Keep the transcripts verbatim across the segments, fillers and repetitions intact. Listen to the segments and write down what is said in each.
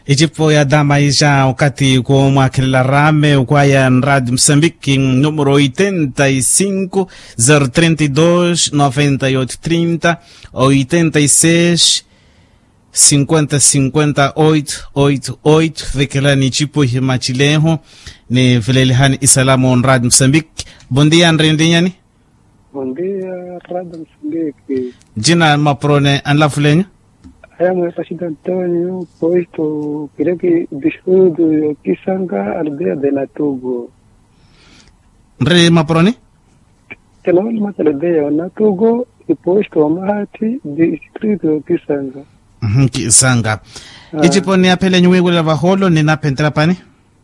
Ecipo ya dama ija okathi koomwakhelela rame okwaya nradi musambiki numero oitenta y cinco zero trenta y dos noventa y oito trinta, oitenta y seis cinquenta cinquenta oito oito oito. Vekelani ecipo ihimacileho ni velelihani isalamu nradi musambiki. Bondia nrindi nyani. Bondia rada musambiki. Jina mapuroni anlafulenyu. Aya mwesa shida antonio poisto kireki disudu yo kisanga aldeia de natugo. Nri mapuroni. Tenaoli mataledeia o natugo ipoisto wa mahati distritu yo kisanga. Kisanga. Icipo ni aphelenyu wiwila vaholo ni naphenterapani.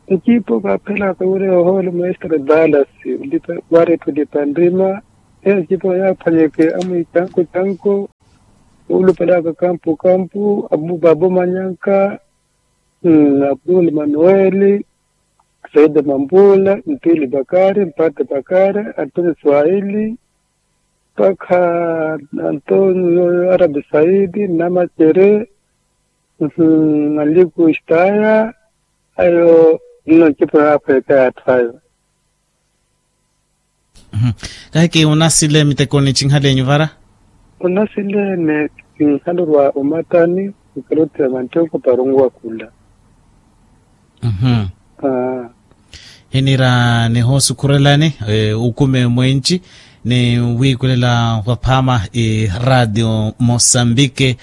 Ecipo kaaphelaka wira yohoole mestre dallas. Wari ethulipa nrima. Ecipo yaaphwanyeke amwicanko canko. Oolupelaka kampu kampu abubabu manyanka. Apuli manueli. Saida mambula ntili bakari mpate bakari. Antoni swahili. Mpakha antonio arabi saidi namacere. Manliku istaya. Ayo nno ncipo yaaphweka ya atthu ayo. Kahiki unasile miteko ni cinhalenyu vara. Unasile ni cinhalurwa umatani. Ukalotiya mantoko parungu wakula. Hinira nihosukhurelani ukume mwenci ni wiikulela vaphaama i radio mosambike.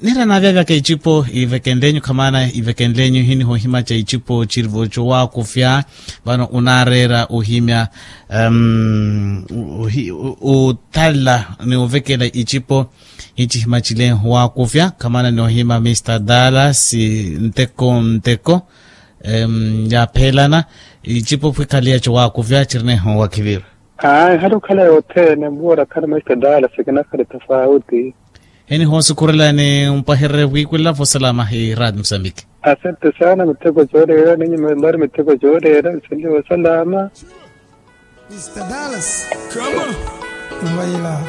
Nira naavyaavyaka icipo ivekenlenyu khamaana ivekenlenyu hinihohimaca icipo cirivo cowaakufya. Vano unaareera ohimya othalla ni ovekela icipo. Hicihimacile waakufya khamaana ni ohima mista dallas. Nteko nteko yaaphelana icipo phwikhaliya cowaakufya cirineho wakhivirwa. Aa ehali okhala yothene mbuwara khana mista dallas kinakhale tafauti. Hinihosukhurelani mpahererye vwiikulela vosalama hi radio musambiki. Asante sana miteko cooreera ninyi mbari miteko cooreera nseliwa osalama. Mista dallas. Kama. Mvaila.